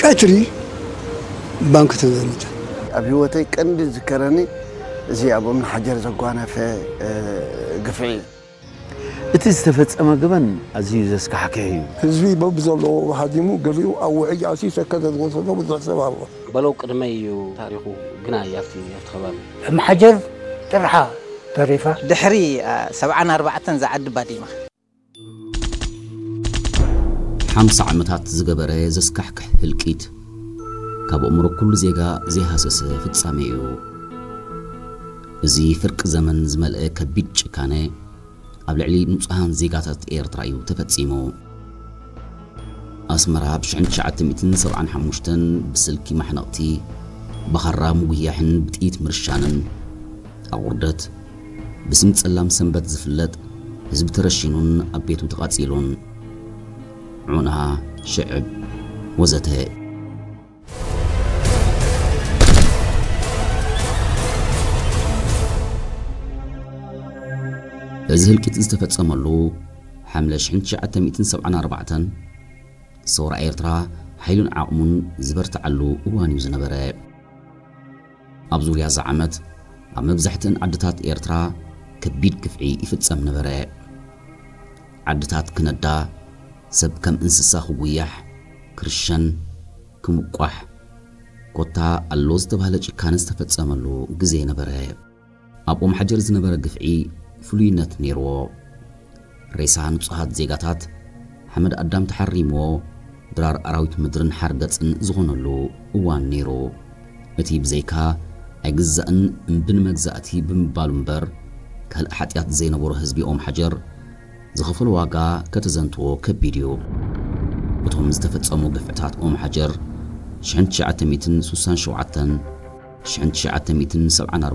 ቀትሪ ባንክ ተዘሚተ። ኣብ ህይወተይ ቀንዲ ዝከረኒ እዚ ኣብ እምኒ ሓጀር ዘጓነፈ ግፍዒ እዩ። እቲ ዝተፈጸመ ገበን ኣዝዩ ዘስካሕክሕ እዩ። ህዝቢ በብዘለዎ ሃዲሙ፣ ገሊኡ ኣብ ውሕጅ ኣትዩ ሰከተ ዝወሰዶ ብዙሕ ሰብ ኣሎ። በለው ቅድመይ እዩ ታሪኹ ግና ኣብቲ ኣብቲ ከባቢ እምሓጀር ጥርሓ ተሪፋ። ድሕሪ ሰብዓን ኣርባዕተን ዝዓዲ ባዲማ። ሓምሳ ዓመታት ዝገበረ ዘስካሕክሕ ህልቂት፣ ካብ ኣእምሮ ኩሉ ዜጋ ዘይሃሰሰ ፍጻሜ እዩ። እዚ ፍርቂ ዘመን ዝመልአ ከቢድ ጭካነ ኣብ ልዕሊ ንጹሃን ዜጋታት ኤርትራ እዩ ተፈጺሙ። ኣስመራ ብ ሽሕን ትሽዓተ ሚእትን ሰብዓን ሓሙሽተን ብስልኪ ማሕነቕቲ፣ ብኻራ ምጉያሕን ብጥይት ምርሻንን፣ ኣቑርደት፣ ብስም ጸላም ሰንበት ዝፍለጥ ህዝቢ ተረሺኑን ኣብ ቤቱ ተቓጺሉን፣ ዑና፣ ሽዕብ፣ ወዘተ። እዚ ህልቂት ዝተፈጸመሉ ሓምለ ሽሕን ትሽዓተ ሚእትን ሰብዓን ኣርባዕተን ሰውራ ኤርትራ ሓይሉን ዓቕሙን ዝበርትዓሉ እዋን እዩ ዝነበረ። ኣብ ዙርያ እዛ ዓመት ኣብ መብዛሕትእን ዓድታት ኤርትራ ከቢድ ግፍዒ ይፍጸም ነበረ። ዓድታት ክነዳ፣ ሰብ ከም እንስሳ ክጉያሕ፣ ክርሸን፣ ክምቋሕ፣ ኮታ ኣሎ ዝተባህለ ጭካነ ዝተፈጸመሉ ግዜ ነበረ። ኣብ ኦም ሓጀር ዝነበረ ግፍዒ ፍሉይነት ነይርዎ። ሬሳ ንጹሃት ዜጋታት ሓመድ ኣዳም ተሓሪምዎ ድራር ኣራዊት ምድርን ሓርገጽን ዝኾነሉ እዋን ነይሩ። እቲ ብዘይካ ኣይግዛእን እምቢ ንመግዛእቲ ብምባሉ እምበር ካልእ ሓጢኣት ዘይነበሮ ህዝቢ ኦም ሓጀር ዝኸፈሎ ዋጋ ከተዘንትዎ ከቢድ እዩ። እቶም ዝተፈጸሙ ግፍዕታት ኦም ሓጀር ሽሕን ትሽዓተ ሚእትን ስሳን ሸውዓተን፣ ሽሕን ትሽዓተ ሚእትን ሰብዓን ኣርባዕተን፣